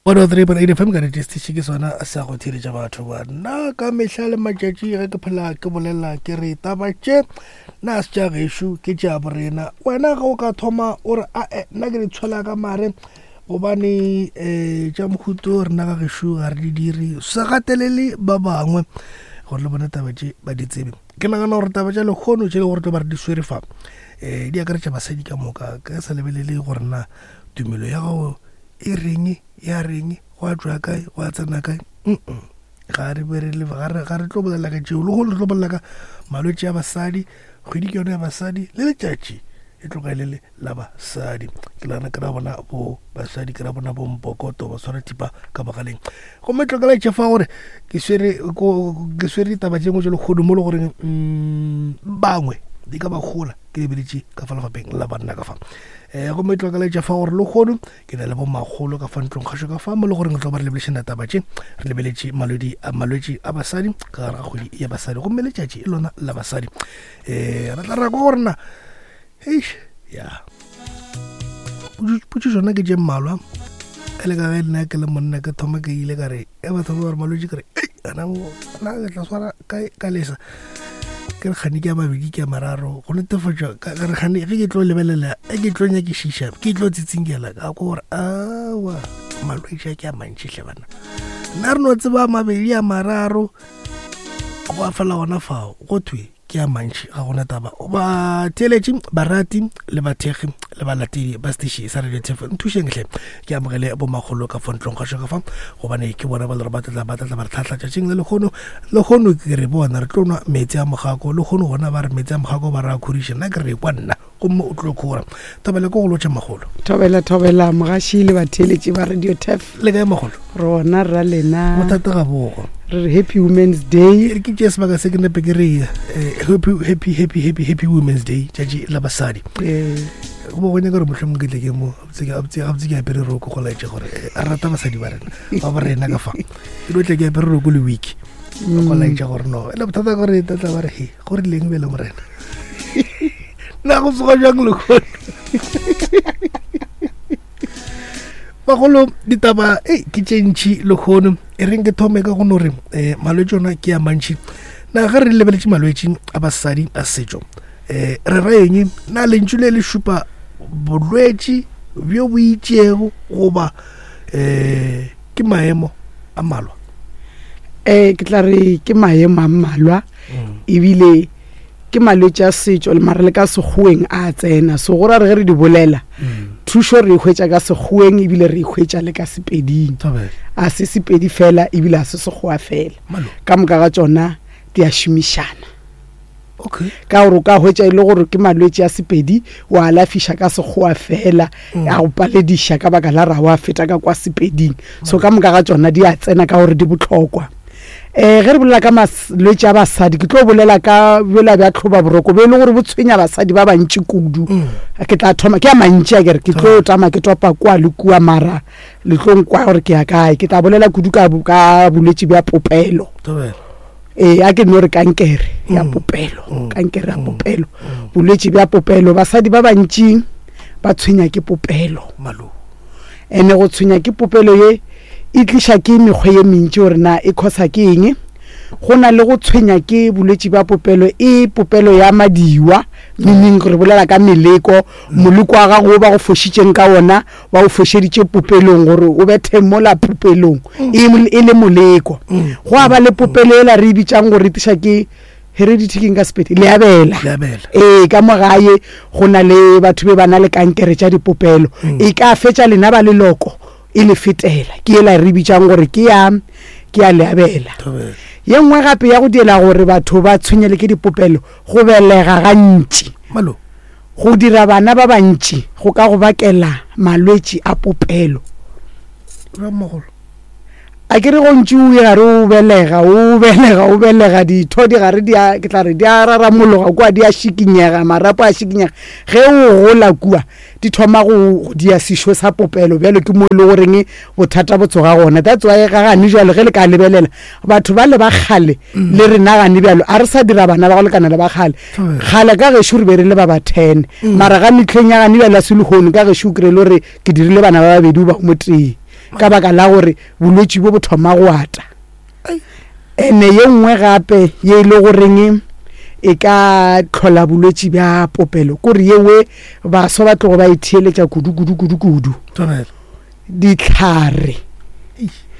103.8 FM ka radio station ke sona sa go theeletša batho ba nna ka mehla le matšatši ge ke phela ke bolela ke re taba tše nna se tša gešo ke tša borena wena ge o ka thoma o re ae nna ke di tshwela ka mare gobane um tša mohuto rena ga gešo ga re di dire se gatelele ba bangwe gore le bone taba tše ba di tsebe ke nagana gore taba tša lekgono tše le gore tlo ba re di swere fa um di akaretša basadi ka moka ka sa lebelele gore na tumelo ya gago e reng ya reng gwa tšwa kae gwa tsena kae ga re be re ga re tlo bolela ka tšeo le go re tlo bolela ka malwetši a basadi kgwedi ke yone ya basadi le letšatši e tloga e le le la basadi ke lana ke ra bona bo basadi ke ra bona bo mpokoto ba tshwara thipa ka bogaleng gomme tlokela tše fa gore ke swere ke swere ditaba tše ngwe tše lekgono mo le goreng mm, bangwe di ka ba gola ke lebeletše ka fa lefapeng la banna ka fa um gomme tlokela fa gore lekgono ke na le bomakgolo ka fa ntlong kgašo ka fa mo le goreng re tlo ba re lebelešena taba tše re lebeletše malwetši a basadi ka gare ga kgwedi ya basadi gomme letšatši e lona la basadi um re tla ra kwa gore na eish ya potšišo na ke tše mmalwa e le ka ge nna ke le monna ke thoma ke ile ka re e batho ba gore malwetši ke re ei ana ke tla swara ka lesa ke re kgane ke a mabedi ke a mararo go netefatša ka re kgane ge ke tlo lebelela e ke tlo nyakišiša ke tlo tsitsinkela ka ko gore awa malwetši a ke a mantši hle bana nna re no tseba mabedi a mararo go a fela gona fao go thwe ke a mantši ga gona taba batheeletši barati le bathekgi le balatedi ba station sa radio tf nthušeng hle ke amogele bomakgolo ka fontlong ga ka fa gobane ke bona ba le gore ba tlatla ba tlatla ba re tlhatlha tšatšing le lekgono lekgono ke re bona re tlo nwa meetse a mogako lekgono gona ba re meetse a mogako ba re a khoriša nna ke re kwa nna gomme o tlo khora thobela ko go lotšha magolo thobela thobela mogaši le batheeletši ba radio tef le kae magolo rona rra lena bothata ga bogo re re happy women's day re ke tšee sebaka se ke nepe ke re eh, happy happy happy happy happy women's day tšatši la basadi ee go bo go nyaka gore mohlomong ke tle ke mo gabotse ke apere roko go laetša gore eh, a rata basadi ba rena ba ba rena ka fa ke no tle ke apere roko le wiki go laetša gore no ele bothata gore tlatla ba re he go rileng bele morena na go tsoga jang lekgono bagolo ditaba e ke tše ntšhi lekgono e reng ke thome ka go no re um malwetši ona ke a mantšhi na ge re lebeletše malwetši a basadi a setšo um re ra eng na lentšu le le šupa bolwetši bjo bo itšego goba um ke maemo a mmalwa um ke tla re ke maemo a mmalwa mm. ebile ke malwetši a setšo le mara le ka sekgoweng a tsena so go ra re ge re di bolela mm. thušo re e hwetša ka sekgoweng ebile re e hwetša le ka sepeding a se sepedi fela ebile a se sekgowa fela ka moka ga tšona di a šomišana okay. ka gore o ka hwetša e le gore ke malwetši a sepedi wa alafiša ka sekgowa fela mm. a go palediša ka baka la ra wa feta ka kwa sepeding so ka moka ga tšona di a tsena ka gore di bohlokwa um ge re bolela ka malwetši a basadi ke tlo bolela ka bjola bja tlhoba boroko bo e le gore bo tshwenya basadi ba bantši kudu mm. ke tla thoma ke a mantši a kere ke tlo tama ke topa kua le kua mara le tlo nkwa gore ke ya kae ke tla bolela kudu ka bolwetši bja popelo ee a ke no re kankere ya mm. popelo mm. kankere ya popelo bolwetši bja popelo basadi ba bantši ba tshwenya ke popelo Ene go tshwenya ke popelo ye e tliša ke mekgwa ye mentši gore na e khosa ke eng. Go na le go tshwenya ke bolwetši bja popelo e popelo ya madiwa, meaning re bolela ka meleko, moleko wa gago wo ba go fošitšeng ka wona ba o fošeditše popelong gore o bethe mola popelong e, e le moleko. Go a ba le popelo yela re e bitšang gore e tliša ke heredity ke nka sepedi leabela ee ka mo gae go na le batho be ba na le kankere tša dipopelo mm. e ka fetša lena ba leloko e le fetela ke ela re bitsang gore ke ya ke ya leabela ye nngwe gape ya go diela gore batho ba tshwenyele ke dipopelo go belega gantši go dira bana ba bantši go ka go bakela malwetši a popelo A ke re go ntše o gare o belega, o belega, o belega, ditho di gare di a, ke tla re di a raramologa kua, di a šikinyega, marapo a šikinyega. Ge o gola kua, di thoma go dia sešo sa popelo bjalo ke mo e le goreng bothata bo tsoga gona. That's why ga gane bjalo ge le ka lebelela batho ba le ba kgale le rena gane bjalo a re sa dira bana ba go lekana le ba kgale. Kgale ka gešo re be re le ba ba 10 mara ga mehleng ya gane bjalo ya selehono ka gešo o kry-e le gore ke dirile bana ba babedi goba o motee ka baka la gore bolwetši bo bo thoma go ata. Ene ye nngwe gape ye e le goreng e ka tlhola bolwetši bja popelo kore yewe baswa ba tlogo ba e theeletša kudu kudu kudu kudu. Ditlhare.